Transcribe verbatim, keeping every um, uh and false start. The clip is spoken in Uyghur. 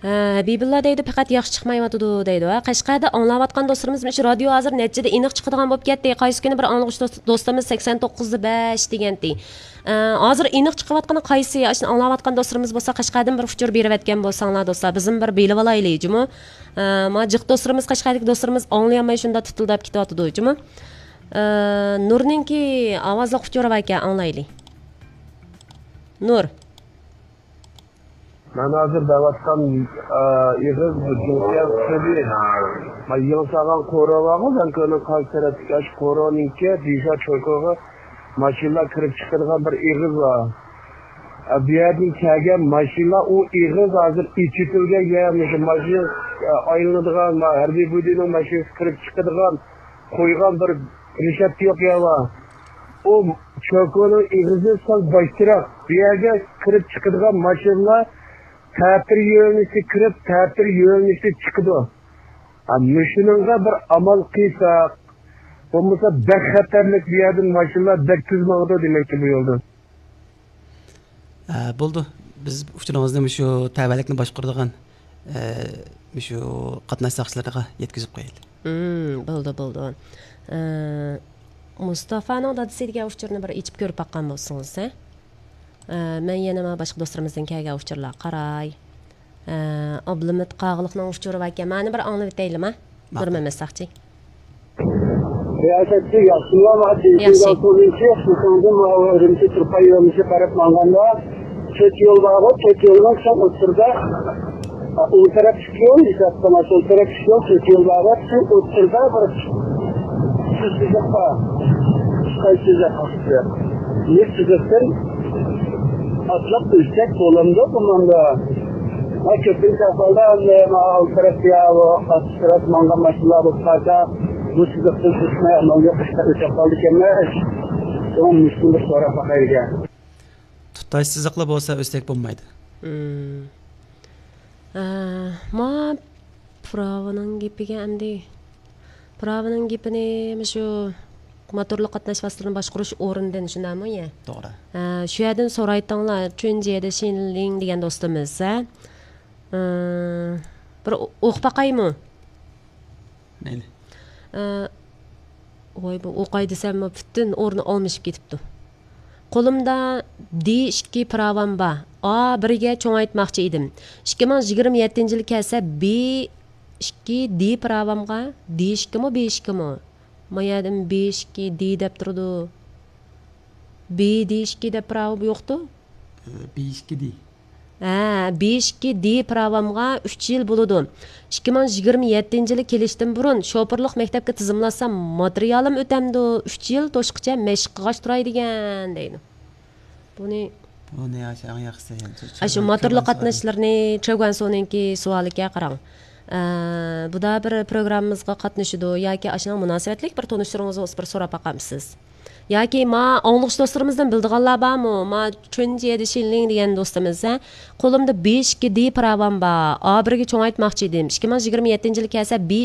ھە، ھەبىبۇللا دەيدۇ، پەقەت ياخشى چىقمايۋاتىدۇ دەيدۇ. ھە، قەشقەردە ئاڭلاۋاتقان دوستلىرىمىز مۇشۇ رادىيو ھازىر نەچچىدە ئېنىق چىقىدىغان بولۇپ كەتتى. قايسى كۈنى بىر ئاڭلىغۇچى دوست-، دوستىمىز سەكسەن توققۇزدا بەش دېگەنتى. ئە، ھازىر ئېنىق چىقىۋاتقىنى قايسى؟ ئاشۇنى ئاڭلاۋاتقان دوستلىرىمىز بولسا، قەشقەردىن بىر ئۇچۇر بېرىۋەتكەن بولساڭلار دوستلار، بىزمۇ بىر بىلىۋالايلى جۇمۇ. ئە، ما جىق دوستلىرىمىز، قەشقەردىكى دوستلىرىمىز ئاڭلىيالماي شۇنداق تۇتۇلداپ كېتىۋاتىدۇ جۇمۇ. ئە، نۇرنىڭكى ئاۋازلىق ئۇچۇرى باركەن، ئاڭلايلى. نۇر. مەن ھازىر دەۋاتقان، ئا، ئېغىز بۇ جۇڭخۇا خۇبى. ما يېڭى سالغان قورۇ بارغۇ، لەنكۆنىڭ قارشى تەرەپتىكى ئاشۇ قورۇنىڭكى دىشا چوكوغا ماشىنىلار كىرىپ چىقىدىغان بىر ئېغىز بار. ئا، بۇ يەردىن كەلگەن ماشىنىلار ئۇ ئېغىز ھازىر ئېچىۋېتىلگەن يەر، مۇشۇ ماشىنا، ئا، ئايلىنىدىغان، ما، ھەربىي بۇدىنىڭ ماشىنىسى كىرىپ چىقىدىغان قويغان بىر رېشاتكا يوق يەر بار. ئۇ چوكونىڭ ئېغىزى سەل باشتىراق. بۇ يەرگە كىرىپ چىقىدىغان ماشىنىلار تەتۈر يۆنىلىشتە كىرىپ، تەتۈر يۆنىلىشتە چىقىدۇ. ھە، مۇشۇنىڭغا بىر ئامال قىلساق، بولمىسا بەك خەتەرلىك، بۇ يەردىن ماشىنىلار بەك تېز ماڭىدۇ دېمەككى بۇ يولدىن. ئە، بولدى. بىز ئۇچۇرىڭىزنى مۇشۇ تەۋەلىكنى باشقۇرىدىغان، ئە، مۇشۇ قاتناش ساقچىلىرىغا يەتكۈزۈپ قويايلى. مم، بولدى، بولدى. ئە، مۇستافانىڭ دادىسى دېگەن ئۇچۇرنى بىر ئېچىپ كۆرۈپ باققان بولسىڭىز، ھە؟ ئە، مەن يەنە مانا باشقا دوستلىرىمىزدىن كەلگەن ئۇچۇرلارغا قاراي. ئە، ئابلىمىت قاغىلىقنىڭ ئۇچۇرى باركەن. مانا بىر ئاڭلىۋېتەيلىما؟ ماقۇل. نۇرمەمەت ساقچى. رىياسەتچى ياخشىمۇ؟ ياخشى. ئۇرۇمچى، ئۈرۈمچى تۇرپان يۆنىلىشى قاراپ ماڭغاندا، تۆت يول بارغۇ، تۆت يولنىڭ سەن ئوتتۇرىدا، ئوڭ تەرەپ ئىككى يول، ھېساب قىلما، سول تەرەپ ئىككى يول، تۆت يول بارغۇ، سەن ئوتتۇرىدا بىر تۈز سىزىق بار. قايسى سىزىق؟ يۈز سىزىقتىن ئاتلاپ ئۆتسەك بولامدۇ بۇنىڭدا؟ ھە، كۆپىنچە ئەھۋالدا ئەمدى مانا ئالدى تەرەپ يا ئۇ ئارقا تەرەپ ماڭغان ماشىنىلار بولۇپ قالسا، بۇ سىزىقتىن ئۆتمەي ئامال يوق ئىشلار ئۆتۈپ قالىدىكەنمىز. شۇڭا مۇشۇنى بىر سوراپ باقايلىكەن. تۇتاش سىزىقلا بولسا ئۆتسەك بولمايدۇ. مم. ئە، ما پىراۋىنىڭ گېپىگە ئەمدى. پىراۋىنىڭ گېپىنى مۇشۇ موتورلۇق قاتناش ۋاسىتىلىرىنى باشقۇرۇش ئورنىدىن شۇنداقمۇ يە؟ توغرا. ھە، شۇ يەردىن سورايتىڭلار، چۈنجيېدە شىنلىڭ دېگەن دوستىمىز، ھە؟ ئى، بىر ئوقۇپ باقايمۇ؟ مەيلى. ئى، ۋاي، بۇ ئوقاي دېسەممۇ پۈتۈن ئورنى ئالمىشىپ كېتىپتۇ. قولۇمدا دې ئىككى پىراۋام بار. ئا بىرگە چوڭايتماقچى ئىدىم. ئىككى مىڭ يىگىرمە يەتتىنچى يىلى كەلسە، بې ئىككى دې پىراۋامغا، دې ئىككىمۇ، بې ئىككىمۇ؟ ما يەردىن بې ئىككى دې دەپ تۇرىدۇ. بې دې ئىككى دەپ پىراۋا يوقتۇ؟ ئە، بې ئىككى دې. ھە، بې ئىككى دې پىراۋامغا ئۈچ يىل بولىدۇ. ئىككى مىڭ يىگىرمە يەتتىنچى يىلى كېلىشتىن بۇرۇن شوپۇرلۇق مەكتەپكە تىزىملاتسام، ماتېرىيالىم ئۆتەمدۇ، ئۈچ يىل توشقىچە مەشىق قىلغاچ تۇراي دېگەن، دەيدۇ. بۇنى بۇنى ئاشۇ ئەڭ ياخشىسى، ئاشۇ موتورلۇق قاتناشلىرىنى چۆگۈەنسۇنىڭكى سوئالىكەن، قاراڭ. ئە، بۇدا بىر پروگراممىمىزغا قاتنىشىدۇ ياكى ئاشۇنىڭ مۇناسىۋەتلىك بىر تونۇشلىرىڭىز بولسا بىر سوراپ باقامسىز؟ ياكى ما ئاڭلىغۇچ دوستلىرىمىزدىن بىلىدىغانلار بارمۇ؟ ما چۈنجيېدە شىنلىڭ دېگەن دوستىمىز، ھە؟ قولۇمدا بې ئىككى دې پىراۋام بار. ئا بىرگە چوڭايتماقچى ئىدىم. ئىككى مىڭ يىگىرمە يەتتىنچى يىلى كەلسە، بې